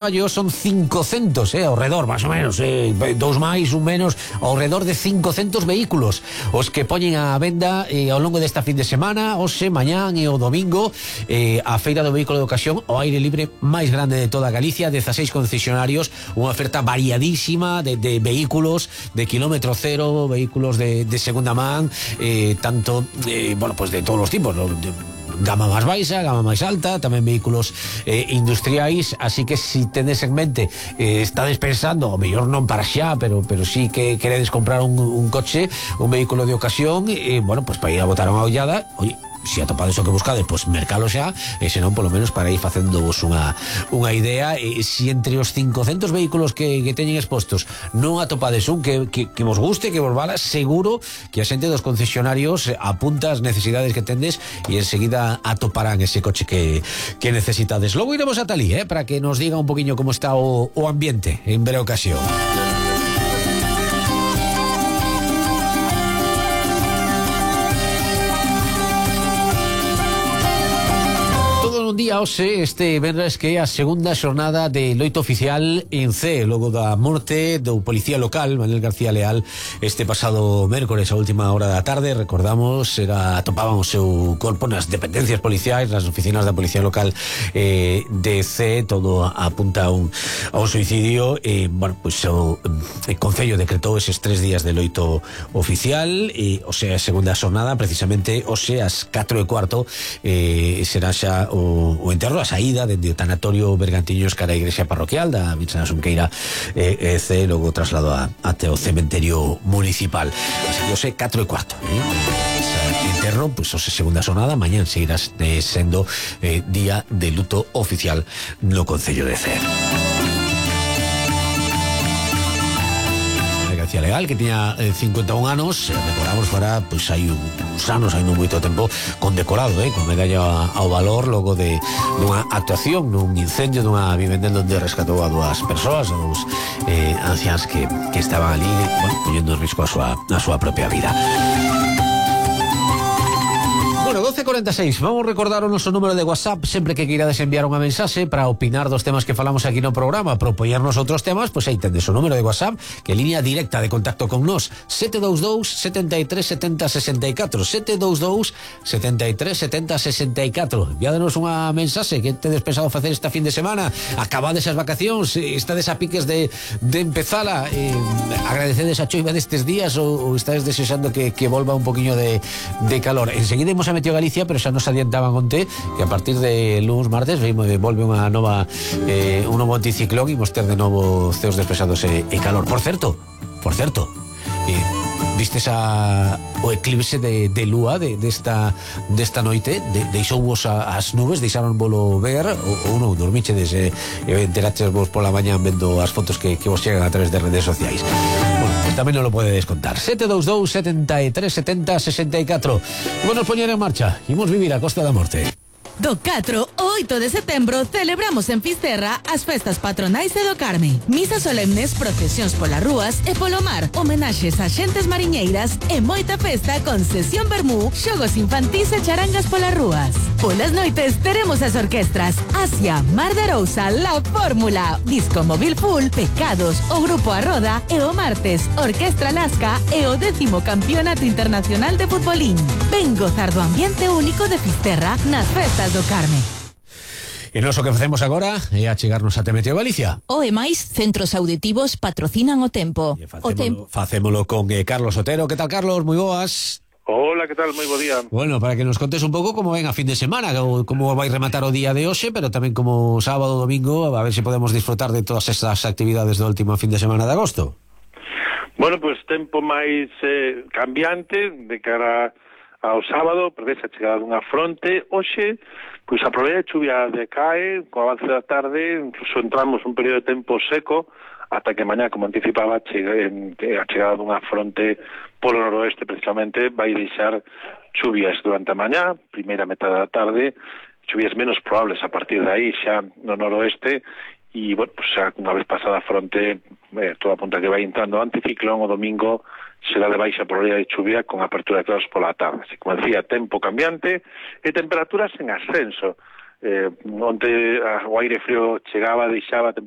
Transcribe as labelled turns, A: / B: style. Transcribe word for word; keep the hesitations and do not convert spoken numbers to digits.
A: son cincocentos, eh, ao redor, máis ou menos, eh, dous máis, un menos, ao redor de cincocentos vehículos os que poñen a venda eh, ao longo desta fin de semana, hoxe, mañán e o domingo, eh, a feira do vehículo de ocasión ao aire libre máis grande de toda Galicia, dezaseis concesionarios, unha oferta variadísima de, de vehículos de kilómetro cero, vehículos de, de segunda man, eh, tanto, eh, bueno, pues de todos os tipos, ¿no? De, gama máis baixa, gama máis alta, tamén vehículos eh, industriais, así que si tedes en mente, eh, estades pensando, o mellor non para xa, pero pero si que queredes comprar un, un coche, un vehículo de ocasión, e, eh, bueno, pues para ir a botar unha ollada, oye, se si atopades o que buscades, pois pues mercalo xa, e senón polo menos para ir facéndovos unha unha idea. E se si entre os cincocentos vehículos que, que teñen expostos non atopades un que, que, que vos guste, que vos vala, seguro que a xente dos concesionarios apunta as necesidades que tendes e enseguida atoparán ese coche que, que necesitades. Logo iremos a Talí, eh, para que nos diga un poquinho como está o, o ambiente en Vera Ocasión. Día hoxe, este venres, que é a segunda xornada de loito oficial en C, logo da morte do policía local Manuel García Leal este pasado mércores a última hora da tarde. Recordamos, era atopaban o seu corpo nas dependencias policiais, nas oficinas da policía local eh, de C. Todo apunta a un, a un suicidio. E, bueno, pues o, o Concello decretou eses tres días de loito oficial, e, o sea, a segunda xornada, precisamente hoxe ás catro e cuarto eh, será xa o o enterro, a saída dende o tanatorio Bergantiños cara a igrexa parroquial da Virxen da Xunqueira eh, C, logo traslado a, até o cementerio municipal. Así que hoxe catro e cuarto, eh? Ese enterro, pois pues, hoxe segunda xornada, mañán seguirás eh, sendo eh, día de luto oficial no Concello de C. Legal, que tiña eh, cincuenta e un anos, eh, recordamos, para, pois pues, hai uns anos, hai non moito tempo, condecorado, eh, con medalla ao valor, logo de dunha actuación nun incendio dunha vivenda onde rescatou a dúas persoas, a dous eh, anciáns que, que estaban ali, bueno, poñendo en risco a súa, a súa propia vida. Bueno, doce cuarenta e seis, vamos recordar o noso número de WhatsApp sempre que queirades enviar unha mensaxe para opinar dos temas que falamos aquí no programa, propoñernos outros temas, pois pues aí tendes o número de WhatsApp, que é línea directa de contacto con nós, sete dous dous, sete tres, setenta, sesenta e catro, sete dous dous, sete tres, setenta, sesenta e catro. Enviádenos unha mensaxe, que tedes pensado facer esta fin de semana, acabades as vacacións, estades a piques de, de empezala, eh, agradecedes a choiva destes días, ou, ou estades desexando que, que volva un poquinho de, de calor. Enseguida imos a Meteo Galicia, pero xa nos adiantaban onte que a partir de luns, martes volve unha nova eh, un novo anticiclón e imos ter de novo ceos despesados e, e calor. Por certo, por certo eh, vistes a, o eclipse de, de lúa de, desta, desta noite, de, deixou vos a, as nubes, deixaron volo ver, ou, ou non, dormichedes e eh, enteraches vos pola mañá vendo as fotos que, que vos chegan a través de redes sociais. Bueno, pues tamén non lo podedes contar. Sete dous dous, setenta e tres, setenta, sesenta e catro. Imos poñer en marcha, imos vivir a Costa da Morte.
B: Do catro ao oito de setembro celebramos en Fisterra as festas patronais e do Carme. Misas solemnes, procesións polas rúas e polo mar, homenaxes a xentes mariñeiras e moita festa con sesión vermú, xogos infantís e charangas polas rúas. Polas noites teremos as orquestras Asia, Mar de Arousa, La Fórmula, Disco Móvil Full, Pecados, o Grupo A Roda e o martes Orquestra Lasca e o décimo Campeonato Internacional de Futbolín. Ven gozar do ambiente único de Fisterra nas festas do Carme.
A: E nós o que facemos agora é achegarnos a Meteo Galicia.
B: O e máis, centros auditivos patrocinan o tempo.
A: Facémolo,
B: o tempo.
A: Facémolo con eh, Carlos Otero. Que tal, Carlos? Moi boas.
C: Hola, que tal? Moi bo día.
A: Bueno, para que nos contes un pouco como ven a fin de semana, como vai rematar o día de hoxe, pero tamén como sábado, domingo, a ver se podemos disfrutar de todas estas actividades do último fin de semana de agosto.
C: Bueno, pois pues, tempo máis eh, cambiante de cara ao sábado, prevese a chegada dunha fronte. Hoxe, pois a probabilidade de chuvia decae, co avance da tarde, incluso entramos un período de tempo seco, ata que mañá, como anticipaba, chega, a chegada dunha fronte polo noroeste, precisamente, vai deixar chuvias durante a mañá, primeira metade da tarde, chuvias menos probables a partir de aí, xa no noroeste, e, bueno, pues, xa unha vez pasada a fronte, eh, toda apunta que vai entrando o anticiclón, o domingo será de baixa probabilidade de chuvia con apertura de claros pola tarde. Así como decía, tempo cambiante e temperaturas en ascenso. eh, onte a, o aire frío chegaba, deixaba a temperatura